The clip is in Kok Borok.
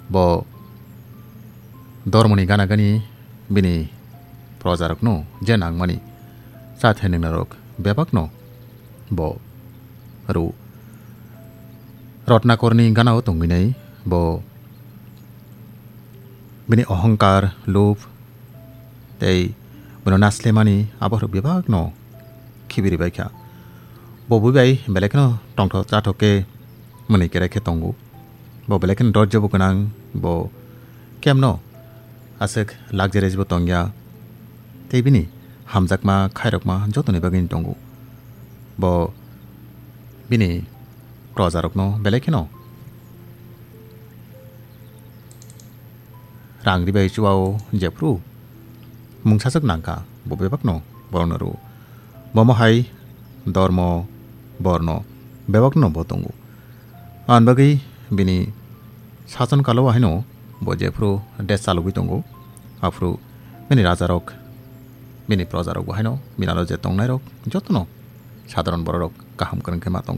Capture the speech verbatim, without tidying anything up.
Bo dormoni gana gani bini projarokno je nangmani cha thai nwngnarok bebakno bo rw. Rotnakorni gana-o tongwinai bo bini ohongkar, lub tei bono naslemani abo rok bebakno khibiri bai kha. Bo bui bai belai kheno tongthok chathok khe mwnwi kerai khe tongo. Bo belai kheno dorjabo gwnang, bo kemno aswk luxurious bo tongya. Tei bini hamjakma khairokma jotoni bagwi tongo. Bo bini projarokno belai kheno rang ribai chuao jephru mungsaswk nangkha, bo bebakno borokno rw. Bomo hai dormo borno bebakno bo tongo. Ani bagwi bini sason kalo haino bo jephru desh chalogwi tongo, aphru bini rajarok, bini projarok bo haino bini aro je tongnairok jotono sadharon bororok kaham kwrwng khe ma tongkha.